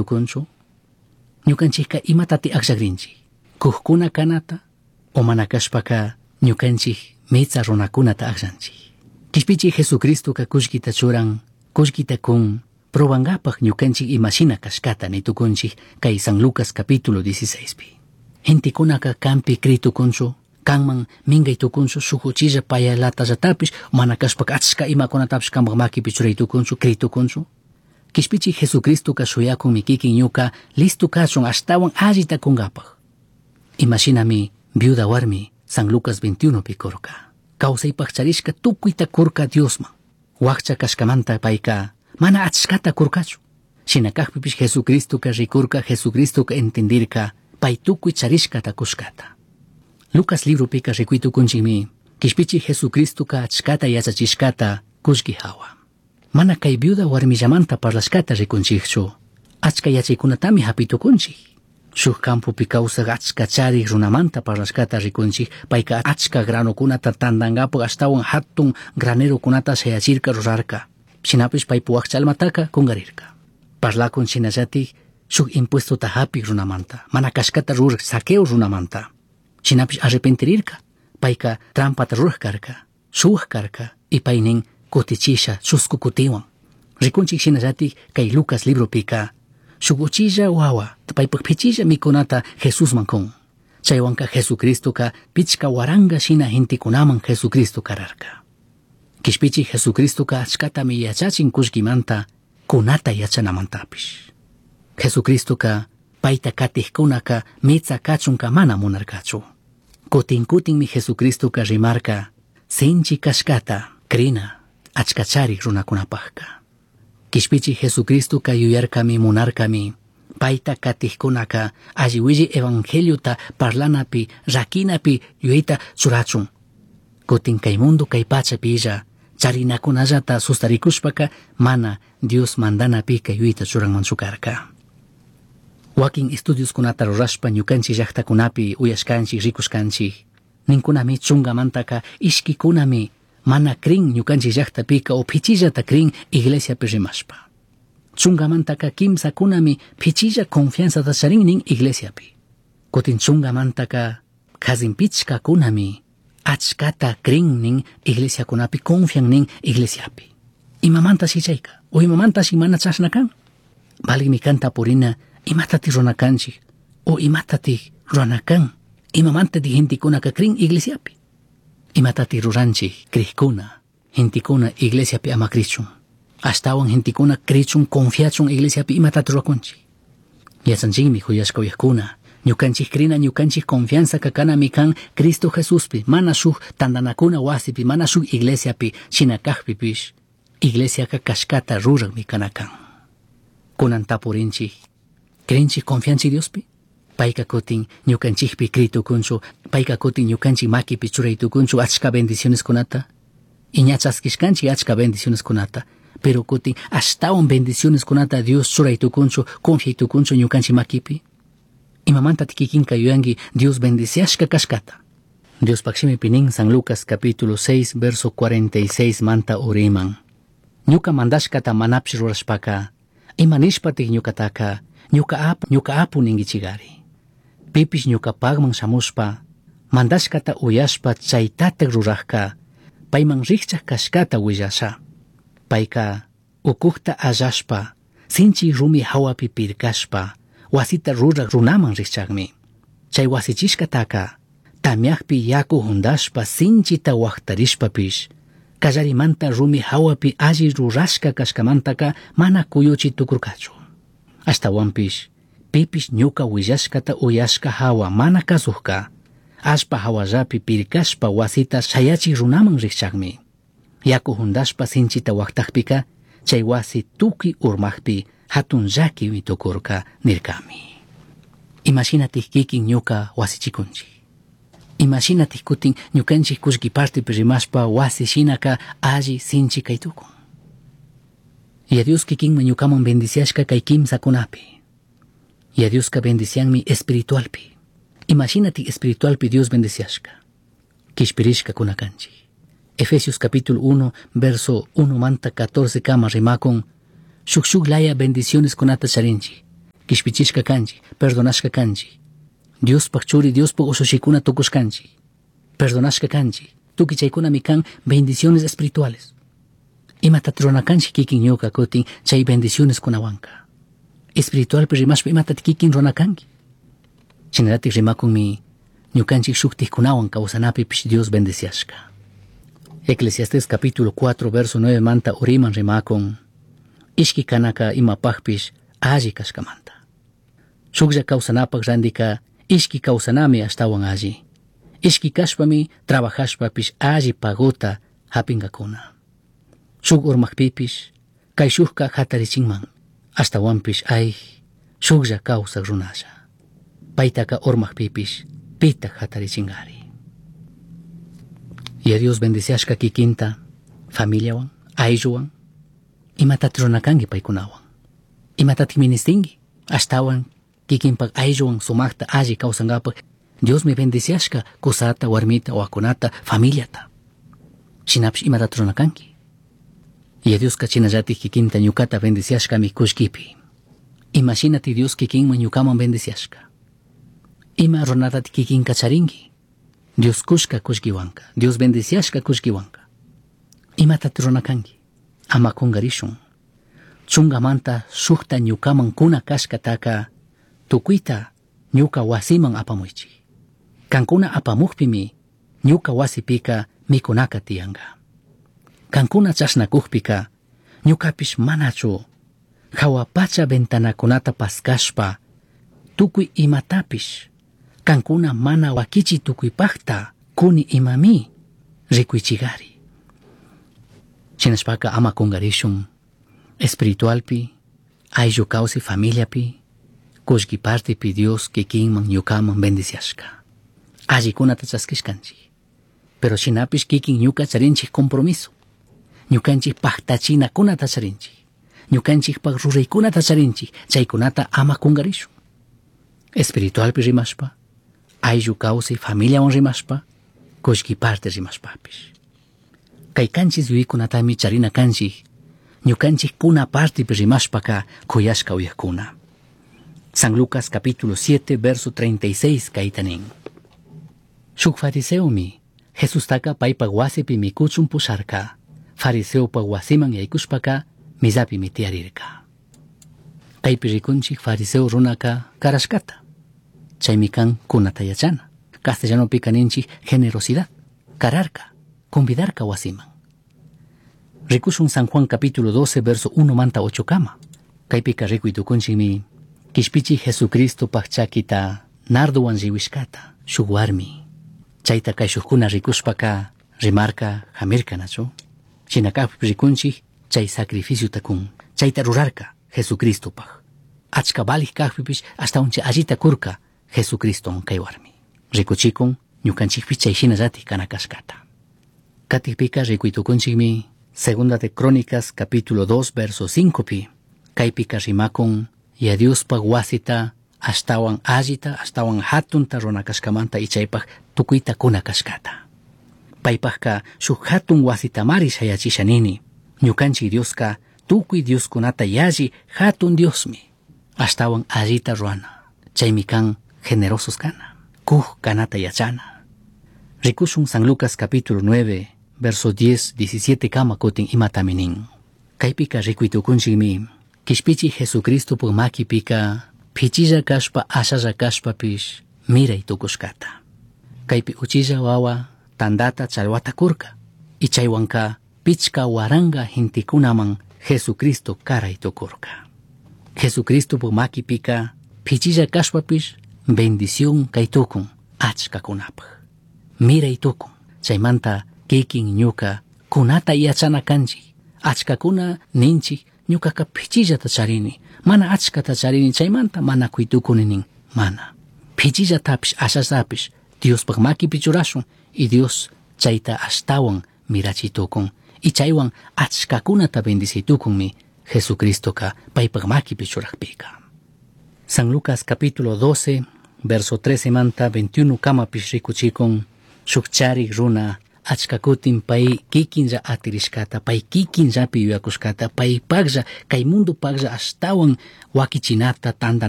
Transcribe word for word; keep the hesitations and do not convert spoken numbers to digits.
Tukunchu ñukanchikka imatati akllakrinchik kujkuna kanata o mana kashpaka ñukanchik mitsa runakunata akllanchik. Kishpichik Jesucristoka kullkita churan, kullkita kun, probangapak ñukanchik imashina kashkata nitukunchik kay San Lucas capítulo dieciséis pi. Gentekunaka kanpi critukunchu, kanman minkay tukunchu, shuk uchilla payalatallatapis, mana kashpaka achka imakunatapish kanpak makipi churay tukunchu, critukunchu. Kishpichik Jesucristoka shuyakunmi kikin ñuka listo kachun ashtawan allita kunkapak. Imashinami viuda warmi San Lucas veintiuno pi kurka. Kawsaypak charishka tukuyta kurka Diosman. Wakcha kashkamanta payka mana achkata kurkachu. Shina kakpipish Jesucristoka rikurka, Jesucristoka entendirka, pay tukuy charishkata kushkata. Lucas libropika rikuytukunchikmi, kishpichik Jesucristoka achkata yachachishkata kullki hawa. Mana kay viuda warmillamanta parlashkata rikunchikchu, achka yachaykunatami hapitukunchik. Shuk campopi kawsaq achka charik runamanta parlashkata rikunchik, payka achka granokunata tantankapak ashtawan hatun granerokunata shayachirka rurarka. Shinapish paypu wakcha almataka kungarirka. Parlakun shinallatik shuk impuestota hapik runamanta, mana kashkata rurak Zaqueo runamanta. Shinapish arrepentirirka, payka trampata rurak karka, shuwak karka, y paynin kutichisha chusku kutiwan. Rikunchik shinallatik kay Lucas libropika, shuk uchilla wawa, paypak pichilla mikunata Jesusman kun. Chaywanka Jesucristoka pichka waranga shina gentekunaman Jesucristo kararka. Kishpichik Jesucristoka achkatami yachachin kullkimanta, kunata yachanamantapish. Jesucristoka payta katijkunaka mitsa kachunka mana munarkachu. Kutin kutinmi Jesucristoka rimarka sinchi kashkata krina achkachari runakunapajka. Kishpichik Jesucristoka yuyarkami munarkami payta katijkunaka alli willi evangeliota parlanapi rakinapi yuyayta churachun. Kutin kay mundo kay pachapilla charinakunallata sustarikushpaka mana Dios mandanapika yuyayta churanmanchu karka. Wakin estudioskunata rurashpa ñukanchik llaktakunapi uyashkanchik rikushkanchik ninkunami chungamantaka ishkikunami mana crin ñukanchik llaktapika o pichillata crin iglesiapi rimashpa. Chungamantaka kimsakunami pichilla confianzata charin nin iglesiapi. Kutin chungamantaka kazin pichkakunami achkata crin nin iglesiakunapi confian nin iglesiapi. Imamanta chayka o imamanta shi mana chashna kan? Valigmi kan tapurina imatati rurakanchik o imatati ruranakan imamanta ti gentekunaka crin iglesiapi. Imatati ruranchik crijkuna gentekuna iglesiapi ama crichun. Ashtawan gentekuna crichun confiachun iglesiapi imatati rurakunchik. Yachanchikmi huyashka uyajkuna ñukanchik crina ñukanchik confianza kakanami kan Cristo Jesuspi mana shuk tantanakuna wasipi mana shuk iglesiapi shina kajpipish iglesiaka kashkata rurakmi kana kan. Kunan tapurinchik crinchik confianchik Diospi? Payka kutin ñukanchikpi critukunchu, payka kutin ñukanchik makipi churaytukunchu achka bendicioneskunata. Y ña chaskishkanchik achka bendicioneskunata, pero kutin ashtawan bendicioneskunata Dios churaytukunchu, confiaytukunchu ñukanchik makipi. Imamanta kikinka yuyanki Dios bendiciashka kashkata. Diospak shimipi nin San Lucas capítulo seis verso cuarenta y seis manta uriman. Ñuka mandashkata manapish rurashpaka, ima nishpatik ñukataka, ñuka apu, ñuka apu ningichigari. Pipish ñukapagman shamushpa, mandashkata uyashpa chaytatak rurajka, payman rikchak kashkata willasha. Payka ukukta allashpa, sinchi rumi hawapi pirkashpa, wasita rurak runaman rikchakmi. Chay wasichishkataka, tamyakpi yaku hundashpa sinchita waktarishpapish, kallarimanta rumi hawapi alli rurashka kashkamantaka mana kuyuchi tukurkachu. Ashtawanpish, pipish ñuka willashkata uyashka hawa mana kasujka, allpa hawallapi pirkashpa wasita shayachik runaman rikchakmi. Yaku hundashpa sinchita waktakpika, chay wasi tukuy urmakpi hatun llakimi tukurka nirkami. Imashinatik kikin ñuka wasichikunchik. Imashinatik kutin ñukanchik kullki partipi rimashpa wasi shinaka alli sinchi kay tukun. Y a Dios kikinman ñukaman bendiciashka kay kimsakunapi. Y a Dioska bendicianmi espiritualpi. Imashinatik espiritualpi Dios bendiciashka. Kishpirishka kunakanchik. Efesios capítulo uno, verso uno manta catorce kama rimakun, shuk shuk laya bendiciones kunata charinchik. Kishpichishka kanchik, perdonashka kanchik. Diospaj churi, Diospaj ushushikuna tukushkanchik. Perdonashka kanchik. Tukuy chaykunami kan bendiciones espirituales. Imatat rurana kanchik kikin ñuka kutin chay bendiciones kunawanka. Espiritualpi rimashpa imatat kikin rurana kanki. Shinallatik rimakunmi ñukanchik shuktikkunawan kawsanapipish Dios bendeciashka. Eclesiastés capítulo cuatro verso nueve manta uriman rimakun ishki kanaka imapajpish alli kashkamanta. Shuklla kawsanapak randika ishki kawsanami ashtawan alli. Ishki kashpami trabajashpapish alli pagota hapinkakuna. Shuk urmakpipish kay shukka hatarichinman ashtawanpish ay shuklla kawsak runalla. Paytaka urmakpipish pitak hatarichingari. Y a Dios bendeciashka kikinta familiawan, aylluwan, imatat rurana kanki paykunawan. Imatat ministinki ashtawan kikinpak aylluwan sumakta alli kawsankapak Diosmi bendeciashka kusata, warmita, wawakunata, familiata. Shinapish imatat rurana kanki. Y a Dioska chinallatik kikinta ñukata bendeciashkami kullkipi. Imashinati Dios kikinman ñukaman bendeciashka. Ima runatat kikinka charinki. Dios kushka kullkiwanka, Dios bendeciashka kullkiwanka. Imatat rurana kanki. Ama kungarishun. Chungamanta shukta ñukaman kuna kashkataka tukuyta ñuka wasiman apamuychik. Kankuna apamukpimi ñuka wasipika mikunaka tiyanka. Kankuna chashnakukpika ñukapish manachu jahua pacha ventanakunata paskashpa tukuy imatapish kankuna mana wakichi tukuypakta kuni imami rikuychigari. Shinashpaka ama kungarishun espiritualpi, ayllu kawsay familiapi, kullki partipi Dios kikinman ñukaman bendiciashka. Allikunata chaskishkanchik. Pero shinapish kikin ñuka charinchik compromiso. Ñukanchik paktachinakunata charinchik. Ñukanchikpak ruraykunata charinchik. Chaykunata ama kungarishun. Espiritualpi rimashpa, ayllu kawsay familiawan rimashpa, kullki parte rimashpapish. Kay kanchis yuyaykunatami charina kanchik. Ñukanchik kuna partipi rimashpaka kuyashka uyakuna. San Lucas capítulo siete verso treinta y seis kayta nin. Shuk fariseomi Jesustaka paypak wasipi mikuchun pusharka. Fariseopak wasiman yaykushpaka misapimi tiyarirka. Kaypi rikunchik fariseo runaka karashkata. Chaymi kan kunata yachana. Castellanopika ninchik generosidad. Kararka, convidarka wasiman. Rikushun San Juan capítulo doce verso uno manta ocho kama. Kaypika rikuy tukunchikmi kishpichi Jesucristo pakchakita nardowan riwishkata shuk warmi. Chayta kay shukkuna rikushpaka rimarka jamirka nachu. Shinakappi rikunchik chay sacrificio kun. Chayta rurarka Jesucristopaj. Achka valij kajpipish ashtawan chay allita kurka Jesucristo kay warmi. Rikuchikun ñukanchikpi chay shinallatik kana kashkata. Katikpika rikuy tukunchikmi Segunda de Crónicas capítulo dos verso cinco pi. Kaypika rimakun ya Diospaj wasita ashtawan allita ashtawan hatunta runakashkamanta y chaypaj tukuyta kuna kashkata. Paypajka shuk hatun wasitamari shayachisha nini. Ñukanchik Dioska tukuy Dioskunata yalli hatun Diosmi. Ashtawan allita ruana. Chaymi kan generosos kana. Kuj kanata yachana. Rikushun San Lucas capítulo nueve verso diez, diecisiete kama kutin imatami nin. Kaypika rikuy tukunchikmi kishpichi Jesucristo puk makipika pichilla kashpa ashalla kashpapish miray tukushkata. Kaypi uchilla wawa tandata chalwata kurka. Y chaywanka pichka waranga gentikunaman Jesucristo karay tukurka. Jesucristo puk makipika pichilla kashpapish bendición kay tukun achkakunapaj. Miray tukun. Chaymanta kikin ñuka kunata yachana kanchik. Achkakuna ninchik ñukaka pichillata charini. Mana achkata charini chaymanta mana kuytukuni nin. Mana. Pichillatapish ashallatapish Diospaj makipi churashun y Dios chayta ashtawan mirachitukun. Y chaywan achkakunata bendicitukunmi Jesucristoka paypaj makipi churajpika. San Lucas capítulo doce verso trece manta veintiuno kamapish rikuchikun shuk charik runa achkakutin pay kikinlla atirishkata, pay kikinllapi yuyakushkata, paypaklla, kay mundupaklla ashtawan wakichinata, tantanata.